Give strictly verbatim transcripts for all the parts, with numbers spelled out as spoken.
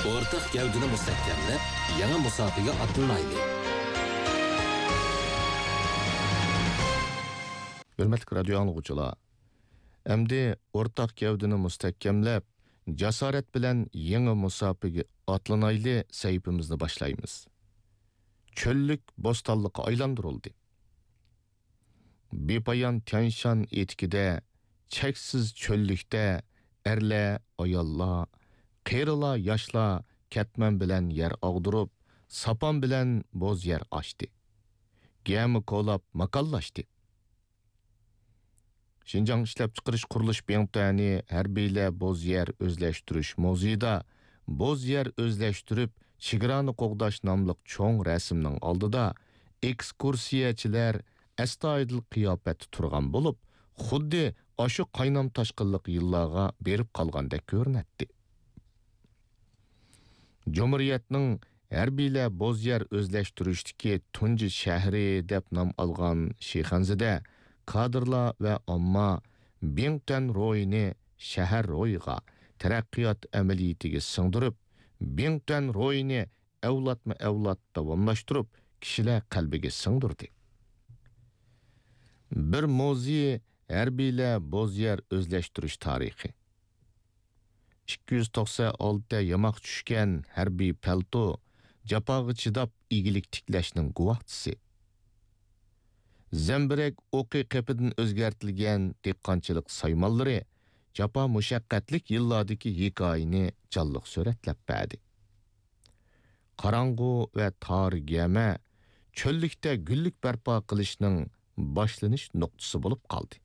ئورتاق گەۋدىنى مۇستەھكەملەپ، يېڭى مۇساپىگە ئاتلىنايلى! ھۆرمەتلىك رادىيو ئاڭلىغۇچىلار، ئەمدى ئورتاق گەۋدىنى مۇستەھكەملەپ، جاسارەت بىلەن يېڭى مۇساپىگە ئاتلىنايلى سەھىپىمىزنى باشلايمىز. چۆللۈك بوستانلىققا ئايلاندۇرۇلدى. بىپايان تيانشان ئېتىكىدە، چەكسىز چۆللۈكتە ئەرلەر، ئاياللار، قېرىلار، ياشلار كەتمەن بىلەن يەر ئاغدۇرۇپ، ساپان بىلەن بوز يەر ئاشتى. گەمە كولاپ ماكانلاشتى. شىنجاڭ ئىشلەپچىقىرىش قۇرۇلۇش بىڭتۈەنى ھەربىيلەر بوز يەر ئۆزلەشتۈرۈش مۇزېيىدا بوز يەر ئۆزلەشتۈرۈپ، چېگرانى قوغداش ناملىق چوڭ رەسىمنىڭ ئالدىدا ئېكسكۇرسىيەچىلەر ئەستايىدىل قىياپەتتە تۇرغان بولۇپ، خۇددى ئاشۇ قاينام تاشقىنلىق يىللارغا بېرىپ قالغاندەك كۆرۈنەتتى. جۇمھۇرىيەتنىڭ ھەربىيلەر بوز يەر ئۆزلەشتۈرۈشتىكى تۇنجى شەھىرى دەپ نام ئالغان شىخەنزىدە كادىرلار ۋە ئامما بىڭتۈەن روھىنى شەھەر روھىغا، تەرەققىيات ئەمەلىيىتىگە سىڭدۈرۈپ، بىڭتۈەن روھىنى ئەۋلادمۇ ئەۋلاد داۋاملاشتۇرۇپ، كىشىلەر قەلبىگە سىڭدۈردى. بىر مۇزېي ھەربىيلەر بوز يەر ئۆزلەشتۈرۈش تارىخى. ئىككى يۈز توقسەن ئالتە ياماق چۈشكەن ھەربىي پەلتو، جاپاغا چىداپ ئىگىلىك تىكلەشنىڭ گۇۋاھچىسى. زەمبىرەك ئوقى قېپىدىن ئۆزگەرتىلگەن دېھقانچىلىق سايمانلىرى جاپا مۇشەققەتلىك يىللاردىكى ھېكايىنى جانلىق سۈرەتلەپ بەردى. قاراڭغۇ ۋە تار گەمە چۆللۈكتە گۈللۈك بەرپا قىلىشنىڭ باشلىنىش نۇقتىسى بولۇپ قالدى.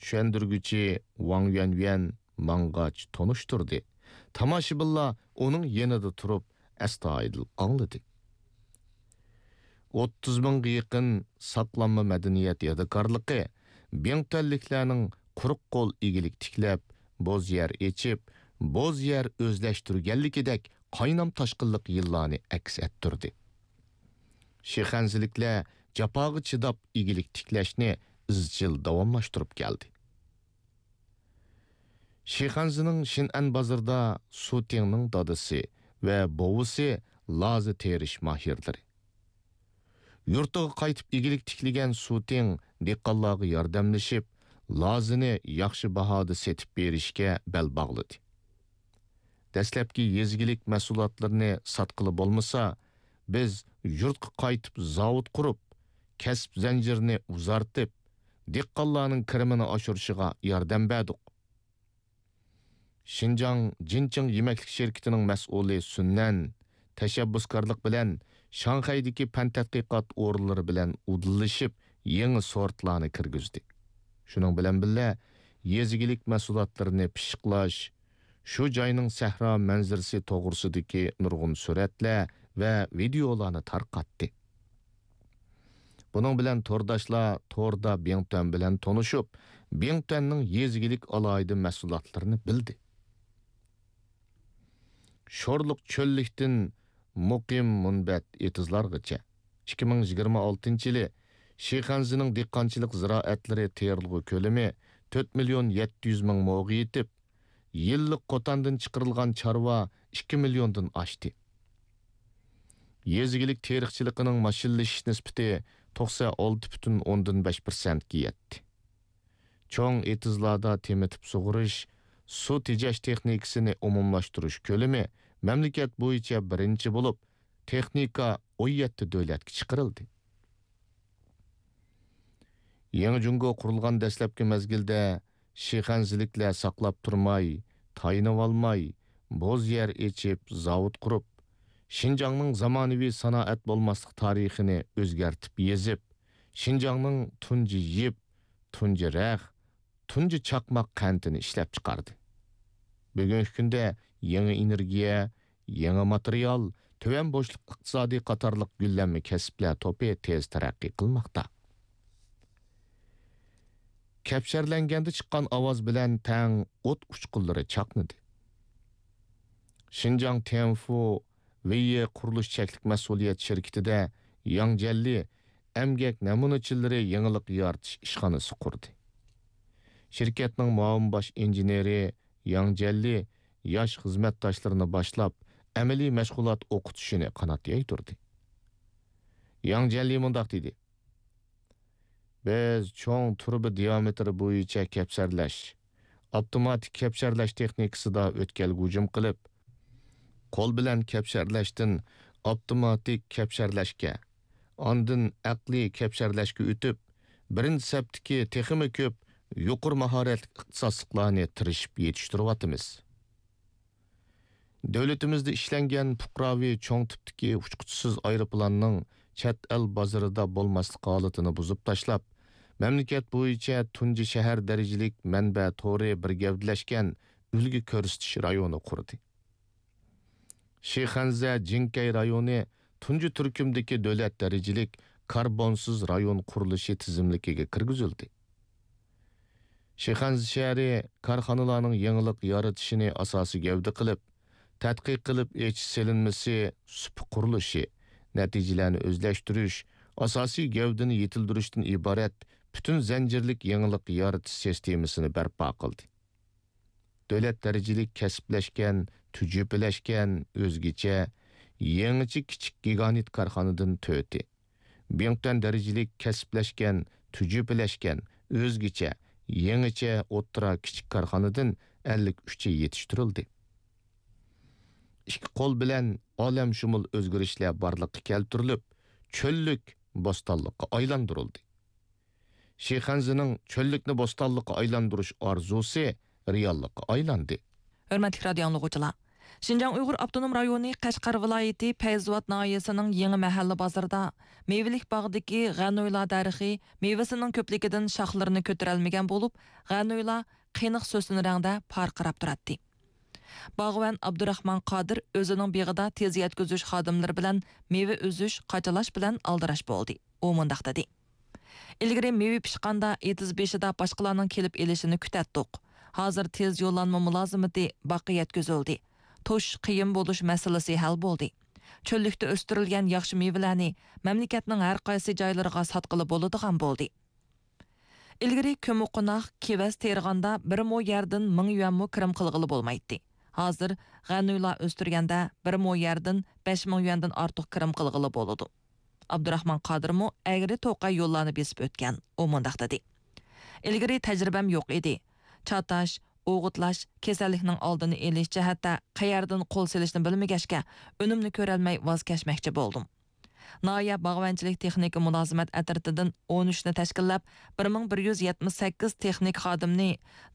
چۈشەندۈرگۈچى ۋاڭ يۈەنيۈەن ماڭغاچ تونۇشتۇردى. تاماشىبىنلار ئۇنىڭ يېنىدا تۇرۇپ ئەستايىدىل ئاڭلىدى. ئوتتۇز مىڭغا يېقىن ساقلانما مەدەنىيەت يادىكارلىقى بىڭتۈەنلىكلەرنىڭ قۇرۇق قول ئىگىلىك تىكلەپ، بوز يەر ئېچىپ، بوز يەر ئۆزلەشتۈرگەنلىكىدەك قاينام تاشقىنلىق يىللارنى ئەكس ئەتتۈردى. شىخەنزىلىكلەر جاپاغا چىداپ ئىگىلىك تىكلەشنى ئىزچىل داۋاملاشتۇرۇپ كەلدى. شىخەنزىنىڭ شىنئەن بازىرىدا سۇ تىڭنىڭ دادىسى ۋە بوۋىسى لازا تېرىش ماھىرلىرى. يۇرتىغا قايتىپ ئىگىلىك تىكلىگەن سۇ تىڭ دېھقانلارغا ياردەملىشىپ، لازىنى ياخشى باھادا سېتىپ بېرىشكە بەل باغلىدى. دەسلەپكى يېزا ئىگىلىك مەھسۇلاتلىرىنى ساتقىلى بولمىسا، بىز يۇرتقا قايتىپ زاۋۇت قۇرۇپ، كەسىپ زەنجىرىنى ئۇزارتىپ، دېھقانلارنىڭ كىرىمىنى ئاشۇرۇشىغا ياردەم بەردۇق. شىنجاڭ جىنچىڭ يېمەكلىك شىركىتىنىڭ مەسئۇلى سۈننەن تەشەببۇسكارلىق بىلەن شاڭخەيدىكى پەن تەتقىقات ئورۇنلىرى بىلەن ئۇدۇللىشىپ، يېڭى سورتلارنى كىرگۈزدى. شۇنىڭ بىلەن بىللە، يېزا ئىگىلىك مەھسۇلاتلىرىنى پىششىقلاش، شۇ جاينىڭ سەھرا مەنزىرىسى توغرىسىدىكى نۇرغۇن سۈرەتلەر ۋە ۋىدېئولارنى تارقاتتى. بۇنىڭ بىلەن تورداشلار توردا بىڭتۈەن بىلەن تونۇشۇپ، بىڭتۈەننىڭ يېزا ئىگىلىك ئالاھىدە مەھسۇلاتلىرىنى بىلدى. شورلۇق چۆللۈكتىن مۇقىم مۇنبەت ئېتىزلارغىچە. ئىككى مىڭ يىگىرمە ئالتىنچى يىلى شىخەنزىنىڭ دېھقانچىلىق زىرائەتلىرى تېرىلغۇ كۆلىمى تۆت مىليون يەتتە يۈز مىڭ موغا يېتىپ، يىللىق قوتاندىن چىقىرىلغان چارۋا ئىككى مىليوندىن ئاشتى. يېزا ئىگىلىك تېرىقچىلىقىنىڭ ماشىنىلىشىش نىسبىتى توقسەن ئالتە پۈتۈن ئوندىن بەش پىرسەنتكە يەتتى. چوڭ ئېتىزلاردا تېمىتىپ سۇغىرىش، سۇ تېجەش تېخنىكىسىنى ئومۇملاشتۇرۇش كۆلىمى مەملىكەت بويىچە بىرىنچى بولۇپ، تېخنىكا ئون يەتتە دۆلەتكە چىقىرىلدى. يېڭى جۇڭگو قۇرۇلغان دەسلەپكى مەزگىلدە شىخەنزىلىكلەر ساقلاپ تۇرماي، تايىنىۋالماي، بوز يەر ئېچىپ، زاۋۇت قۇرۇپ، شىنجاڭنىڭ زامانىۋى سانائەت بولماسلىق تارىخىنى ئۆزگەرتىپ يېزىپ، شىنجاڭنىڭ تۇنجى يىپ، تۇنجى رەخ، تۇنجى چاقماق قەنتىنى ئىشلەپچىقاردى. بۈگۈنكى كۈندە يېڭى ئېنېرگىيە، يېڭى ماتېرىيال، تۆۋەن بوشلۇق ئىقتىسادى قاتارلىق گۈللەنمە كەسىپلەر توپى تېز تەرەققىي قىلماقتا. كەپشەرلەنگەندە چىققان ئاۋاز بىلەن تەڭ ئوت ئۇچقۇنلىرى چاقنىدى. شىنجاڭ تيەنفۇ ۋېيې قۇرۇلۇش چەكلىك مەسئۇلىيەت شىركىتىدە ياڭ جيەنلى ئەمگەك نەمۇنىچىلىرى يېڭىلىق يارىتىش ئىشخانىسى قۇردى. شىركەتنىڭ مۇئاۋىن باش ئىنژېنېرى ياڭ جيەنلى ياش خىزمەتداشلىرىنى باشلاپ، ئەمەلىي مەشغۇلات ئوقۇتۇشىنى قانات يايدۇردى. ياڭ جيەنلى مۇنداق دېدى: بىز چوڭ تۇرۇبا دىيامېتىرى بويىچە كەپسەرلەش، ئاپتوماتىك كەپسەرلەش تېخنىكىسىدا ئۆتكەلگە ھۇجۇم قىلىپ، قول بىلەن كەپسەرلەشتىن ئاپتوماتىك كەپسەرلەشكە، ئاندىن ئەقلىي كەپسەرلەشكە ئۆتۈپ، بىرىنچى سەپتىكى تېخىمۇ كۆپ يۇقىرى ماھارەتلىك ئىختىساسلىقلارنى تىرىشىپ يېتىشتۈرۈۋاتىمىز. دۆلىتىمىزدە ئىشلەنگەن پۇقراۋى چوڭ تىپتىكى ئۇچقۇچىسىز ئايروپىلاننىڭ چەت ئەل بازىرىدا بولماسلىق ھالىتىنى بۇزۇپ تاشلاپ، مەملىكەت بويىچە تۇنجى شەھەر دەرىجىلىك مەنبە تورى بىر گەۋدىلەشكەن ئۈلگە كۆرسىتىش رايونى قۇردى. شىخەنزە جىڭكەي رايونى تۇنجى تۈركۈمدىكى دۆلەت دەرىجىلىك كاربونسىز رايون قۇرۇلۇشى تىزىملىكىگە كىرگۈزۈلدى. شىخەنزە شەھىرى كارخانىلارنىڭ يېڭىلىق يارىتىشىنى ئاساسىي گەۋدە قىلىپ، تەتقىق قىلىپ ئېچىش سېلىنمىسى، سۇپا قۇرۇلۇشى، نەتىجىلەرنى ئۆزلەشتۈرۈش، ئاساسىي گەۋدىنى يېتىلدۈرۈشتىن ئىبارەت پۈتۈن زەنجىرلىك يېڭىلىق يارىتىش سىستېمىسىنى بەرپا قىلدى. دۆلەت دەرىجىلىك كەسىپلەشكەن، تۈجۈپىلەشكەن، ئۆزگىچە، يېڭىچە كىچىك گىگانت كارخانىدىن تۆتى، بىڭتۈەن دەرىجىلىك كەسىپلەشكەن، تۈجۈپىلەشكەن، ئۆزگىچە، يېڭىچە ئوتتۇرا كىچىك كارخانىدىن ئەللىك ئۈچى يېتىشتۈرۈلدى. ئىككى قول بىلەن ئالەمشۇمۇل ئۆزگىرىشلەر بارلىققا كەلتۈرۈلۈپ، چۆللۈك بوستانلىققا ئايلاندۇرۇلدى. شىخەنزىنىڭ چۆللۈكنى بوستانلىققا ئايلاندۇرۇش ئارزۇسى رېئاللىققا ئايلاندى. ھۆرمەتلىك رادىيو ئاڭلىغۇچىلار! شىنجاڭ ئۇيغۇر ئاپتونوم رايونى قەشقەر ۋىلايىتى پەيزىۋات ناھىيەسىنىڭ يېڭى مەھەللە بازىرىدا مېۋىلىك باغدىكى غەنۇيلا دەرىخى مېۋىسىنىڭ كۆپلۈكىدىن شاخلىرىنى كۆتۈرەلمىگەن بولۇپ، غەنۇيلا قېنىق سۆسۈن رەڭدە پارقىراپ تۇراتتى. باغۋەن ئابدۇراخمان قادىر ئۆزىنىڭ بېغىدا تېز يەتكۈزۈش خادىملىرى بىلەن مېۋە ئۈزۈش، قاچىلاش بىلەن ئالدىراش بولدى. ئۇ مۇنداق دېدى: ئىلگىرى مېۋە پىشقاندا ئېتىز بېشىدا باشقىلارنىڭ كېلىپ ئېلىشىنى كۈتەتتۇق. ھازىر تېز يوللانما مۇلازىمىتى باغقا يەتكۈزۈلدى. توشۇش قىيىن بولۇش مەسىلىسى ھەل بولدى. چۆللۈكتە ئۆستۈرۈلگەن ياخشى مېۋىلەرنى مەملىكەتنىڭ ھەر قايسى جايلىرىغا ساتقىلى بولىدىغان بولدى. ئىلگىرى كۆممىقوناق، كېۋەز تېرىغاندا بىر مو يەردىن مىڭ يۈەنمۇ كىرىم قىلغىلى بولمايتتى. ھازىر غەنۇيلا ئۆستۈرگەندە بىر مو يەردىن بەش مىڭ يۈەندىن ئارتۇق كىرىم قىلغىلى بولىدۇ. ئابدۇراخمان قادىرمۇ ئەگرى توقاي يوللارنى بېسىپ ئۆتكەن. ئۇ مۇنداق دېدى: ئىلگىرى تەجرىبەم يوق ئىدى. چاتاش، ئوغۇتلاش، كېسەللىكنىڭ ئالدىنى ئېلىش جەھەتتە قەيەردىن قول سېلىشنى بىلمىگەچكە، ئۈنۈمنى كۆرەلمەي ۋاز كەچمەكچى بولدۇم. ناھىيە باغۋەنچىلىك تېخنىكا مۇلازىمەت ئەترىتىدىن ئون ئۈچنى تەشكىللەپ، بىر مىڭ بىر يۈز يەتمىش سەككىز تېخنىك خادىمنى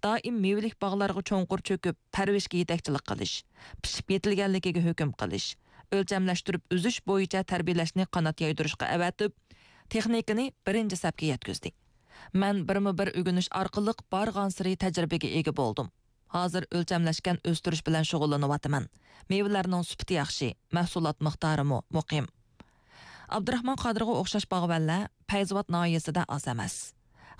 دائىم مېۋىلىك باغلارغا چوڭقۇر چۆكۈپ، پەرۋىشكە يېتەكچىلىك قىلىش، پىشىپ يېتىلگەنلىكىگە ھۆكۈم قىلىش، ئۆلچەملەشتۈرۈپ ئۈزۈش بويىچە تەربىيەلەشنى قانات يايدۇرۇشقا ئەۋەتىپ، تېخنىكىنى بىرىنچى سەپكە يەتكۈزدى. مەن بىرمۇ بىر ئۆگىنىش ئارقىلىق بارغانسېرى تەجرىبىگە ئىگە بولدۇم. ھازىر ئۆلچەملەشكەن ئۆستۈرۈش بىلەن شۇغۇللىنىۋاتىمەن. مېۋىلەرنىڭ سۈپىتى ياخشى، مەھسۇلات مىقدارىمۇ مۇقىم. ئابدۇراخمان قادىرغا ئوخشاش باغۋەنلەر پەيزىۋات ناھىيەسىدە ئاز ئەمەس.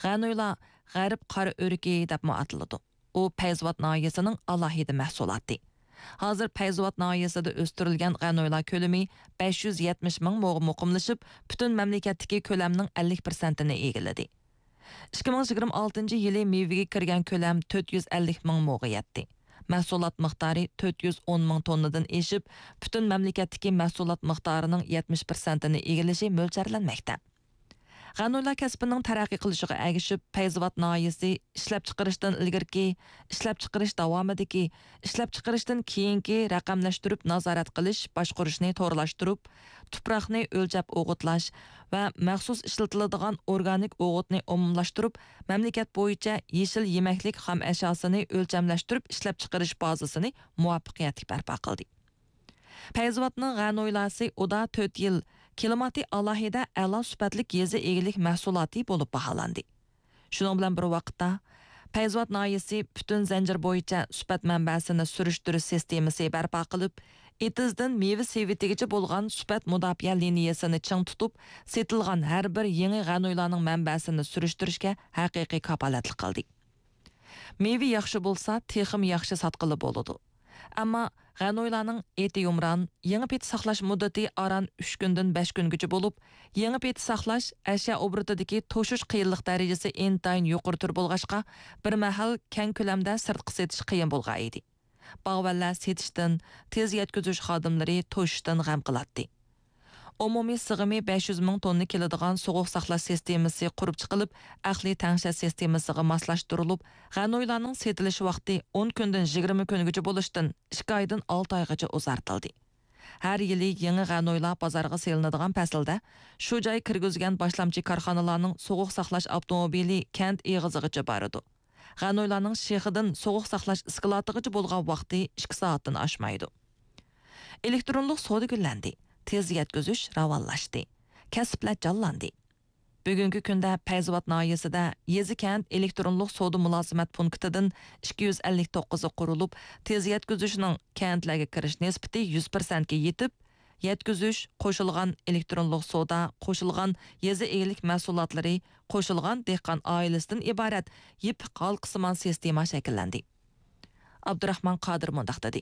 غەنۇيلا غەرب قارا ئۆرۈكى دەپمۇ ئاتىلىدۇ. ئۇ پەيزىۋات ناھىيەسىنىڭ ئالاھىدە مەھسۇلاتى. ھازىر پەيزىۋات ناھىيەسىدە ئۆستۈرۈلگەن غەنۇيلا كۆلىمى بەش يۈز يەتمىش مىڭ موغا مۇقىملىشىپ، پۈتۈن مەملىكەتتىكى كۆلەمنىڭ ئەللىك پىرسەنتىنى ئىگىلىدى. ئىككى مىڭ يىگىرمە ئالتىنچى يىلى مېۋىگە كىرگەن كۆلەم تۆت يۈز ئەللىك مىڭ موغا يەتتى. مەھسۇلات مىقدارى تۆت يۈز ئون مىڭ توننىدىن ئېشىپ، پۈتۈن مەملىكەتتىكى مەھسۇلات مىقدارىنىڭ يەتمىش پىرسەنتىنى ئىگىلىشى مۆلچەرلەنمەكتە. غەنۇيلا كەسپىنىڭ تەرەققىي قىلىشىغا ئەگىشىپ، پەيزىۋات ناھىيەسى ئىشلەپچىقىرىشتىن ئىلگىرىكى، ئىشلەپچىقىرىش داۋامىدىكى، ئىشلەپچىقىرىشتىن كېيىنكى رەقەملەشتۈرۈپ نازارەت قىلىش، باشقۇرۇشنى تورلاشتۇرۇپ، تۇپراقنى ئۆلچەپ ئوغۇتلاش ۋە مەخسۇس ئىشلىتىلىدىغان ئورگانىك ئوغۇتنى ئومۇملاشتۇرۇپ، مەملىكەت بويىچە يېشىل يېمەكلىك خام ئەشياسىنى ئۆلچەملەشتۈرۈپ ئىشلەپچىقىرىش بازىسىنى مۇۋەپپەقىيەتلىك بەرپا قىلدى. پەيزىۋاتنىڭ غەنۇيلاسى ئۇدا تۆت يىل، كىلىماتى ئالاھىدە ئەلا سۈپەتلىك يېزا ئىگىلىك مەھسۇلاتى بولۇپ باھالاندى. شۇنىڭ بىلەن بىر ۋاقىتتا، پەيزىۋات ناھىيەسى پۈتۈن زەنجىر بويىچە سۈپەت مەنبەسىنى سۈرۈشتۈرۈش سىستېمىسى بەرپا قىلىپ، ئېتىزدىن مېۋە سېۋىتىگىچە بولغان سۈپەت مۇداپىئە لىنىيەسىنى چىڭ تۇتۇپ، سېتىلغان ھەر بىر يېڭى غەنۇيلانىڭ مەنبەسىنى سۈرۈشتۈرۈشكە ھەقىقىي كاپالەتلىك قىلدى. مېۋە ياخشى بولسا، تېخىمۇ ياخشى ساتقىلى بولىدۇ. ئەمما غەنۇيلانىڭ ئېتى يۇمران، يېڭى پېتى ساقلاش مۇددىتى ئاران ئۈچ كۈندىن بەش كۈنگىچە بولۇپ، يېڭى پېتى ساقلاش، ئەشيا ئوبوروتىدىكى توشۇش قىيىنلىق دەرىجىسى ئىنتايىن يۇقىرى تۈر بولغاچقا، بىر مەھەل كەڭ كۆلەمدە سىرتقا سېتىش قىيىن بولغان ئىدى. باغۋەنلەر سېتىشتىن، تېز يەتكۈزۈش خادىملىرى توشۇشتىن غەم قىلاتتى. ئومۇمىي سىغىمى بەش يۈز مىڭ توننا كېلىدىغان سوغۇق ساقلاش سىستېمىسى قۇرۇپ چىقىلىپ، ئەقلىي تەڭشەش سىستېمىسىغا ماسلاشتۇرۇلۇپ، غەنۇيلارنىڭ سېتىلىش ۋاقتى ئون كۈندىن يىگىرمە كۈنگىچە بولۇشتىن ئىككى ئايدىن ئالتە ئايغىچە ئۇزارتىلدى. ھەر يىلى يېڭى غەنۇيلار بازارغا سېلىنىدىغان پەسىلدە، شۇ جاي كىرگۈزگەن باشلامچى كارخانىلارنىڭ سوغۇق ساقلاش ئاپتوموبىلى كەنت ئېغىزىغىچە بارىدۇ. غەنۇيلارنىڭ شېخىدىن سوغۇق ساقلاش ئىسكىلاتىغىچە بولغان ۋاقتى ئىككى سائەتتىن ئاشمايدۇ. ئېلېكترونلۇق سودا گۈللەندى، تېز يەتكۈزۈش راۋانلاشتى، كەسىپلەر جانلاندى. بۈگۈنكى كۈندە پەيزاۋات ناھىيەسىدە يېزا كەنت ئېلېكترونلۇق سودا مۇلازىمەت پونكىتىدىن ئىككى يۈز ئەللىك توققۇزى قۇرۇلۇپ، تېز يەتكۈزۈشنىڭ كەنتلەرگە كىرىش نىسبىتى يۈز پىرسەنتكە يېتىپ، يەتكۈزۈش، قوشۇلغان ئېلېكترونلۇق سودا، قوشۇلغان يېزا ئىگىلىك مەھسۇلاتلىرى، قوشۇلغان دېھقان ئائىلىسىدىن ئىبارەت يېپىق ھالقىسىمان سىستېما شەكىللەندى. ئابدۇراخمان قادىر مۇنداق دېدى: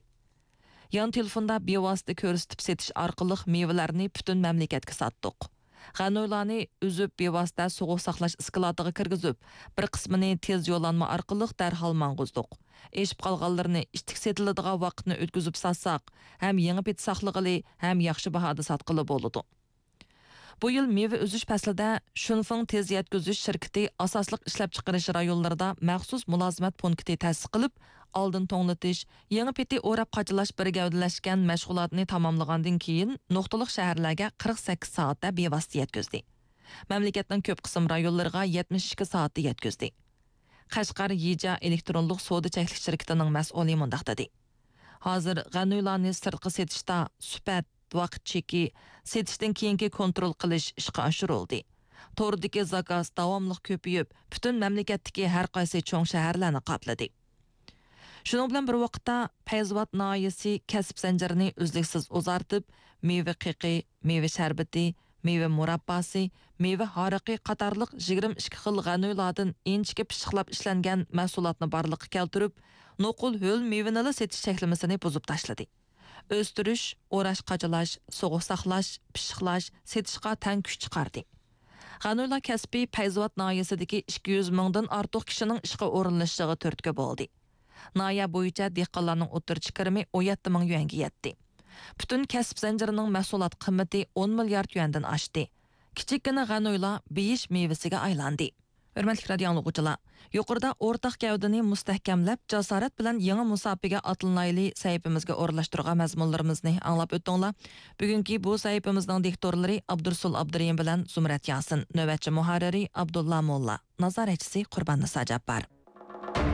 يان تېلېفوندا بىۋاسىتە كۆرسىتىپ سېتىش ئارقىلىق مېۋىلەرنى پۈتۈن مەملىكەتكە ساتتۇق. غەنۇيلارنى ئۈزۈپ، بىۋاسىتە سوغۇق ساقلاش ئىسكىلاتىغا كىرگۈزۈپ، بىر قىسمىنى تېز يوللانما ئارقىلىق دەرھال ماڭغۇزدۇق. ئېشىپ قالغانلىرىنى ئىتتىك سېتىلىدىغان ۋاقىتنى ئۆتكۈزۈپ ساتساق، ھەم يېڭى پېتى ساقلىغىلى، ھەم ياخشى باھادا ساتقىلى بولىدۇ. بۇ يىل مېۋە ئۈزۈش پەسلىدە شۇنفېڭ تېز يەتكۈزۈش شىركىتى ئاساسلىق ئىشلەپچىقىرىش رايونلىرىدا مەخسۇس مۇلازىمەت پونكىتى تەسىس قىلىپ، ئالدىن توڭلىتىش، يېڭى پېتى ئوراپ قاچىلاش بىر گەۋدىلەشكەن مەشغۇلاتنى تاماملىغاندىن كېيىن، نۇقتىلىق شەھەرلەرگە قىرىق سەككىز سائەتتە بىۋاسىتە يەتكۈزدى. مەملىكەتنىڭ كۆپ قىسىم رايونلىرىغا يەتمىش ئىككى سائەتتە يەتكۈزدى. قەشقەر يىجيا ئېلېكترونلۇق سودا چەكلىك شىركىتىنىڭ مەسئۇلى مۇنداق دېدى: ھازىر غەنۇيلارنى سىرتقا سېتىشتا سۈپەت، ۋاقىت چېكى، سېتىشتىن كېيىنكى كونترول قىلىش ئىشقا ئاشۇرۇلدى. توردىكى زاكاز داۋاملىق كۆپىيىپ، پۈتۈن مەملىكەتتىكى ھەر قايسى چوڭ شەھەرلەرنى قاپلىدى. شۇنىڭ بىلەن بىر ۋاقىتتا، پەيزاۋات ناھىيەسى كەسىپ زەنجىرىنى ئۈزلۈكسىز ئۇزارتىپ، مېۋە قېقى، مېۋە شەربىتى، مېۋە مۇرابباسى، مېۋە ھارىقى قاتارلىق يىگىرمە ئىككى خىل غەنۇيلاردىن ئىنچىكە پىششىقلاپ ئىشلەنگەن مەھسۇلاتنى بارلىققا كەلتۈرۈپ، نوقۇل ھۆل مېۋىنىلا سېتىش چەكلىمىسىنى بۇزۇپ تاشلىدى. ئۆستۈرۈش، ئوراش، قاچىلاش، سوغۇق ساقلاش، پىششىقلاش، سېتىشقا تەڭ كۈچ چىقاردى. غەنۇيلا كەسپى پەيزاۋات ناھىيەسىدىكى ئىككى يۈز مىڭدىن ئارتۇق كىشىنىڭ ئىشقا ئورۇنلىشىشىغا تۈرتكە بولدى. ناھىيە بويىچە دېھقانلارنىڭ ئوتتۇرىچە كىرىمى ئون يەتتە مىڭ يۈەنگە يەتتى. پۈتۈن كەسىپ زەنجىرىنىڭ مەھسۇلات قىممىتى ئون مىليارد يۈەندىن ئاشتى. كىچىككىنە غەنۇيلا بېيىش مېۋىسىگە ئايلاندى. ھۆرمەتلىك رادىئو ئاڭلىغۇچىلار، يۇقىرىدا ئورتاق گەۋدىنى مۇستەھكەملەپ، جاسارەت بىلەن يېڭى مۇساپىگە ئاتلىنايلى سەھىپىمىزگە ئورۇنلاشتۇرغان مەزمۇنلىرىمىزنى ئاڭلاپ ئۆتتۈڭلار. بۈگۈنكى بۇ سەھىپىمىزنىڭ دىكتورلىرى ئابدۇرۇسۇل ئابدۇرېھىم بىلەن زۇمرەت ياسىن، نۆۋەتچى مۇھەررىرى ئابدۇللا موللا، نازارەتچىسى قۇرباننىسا جاپپار.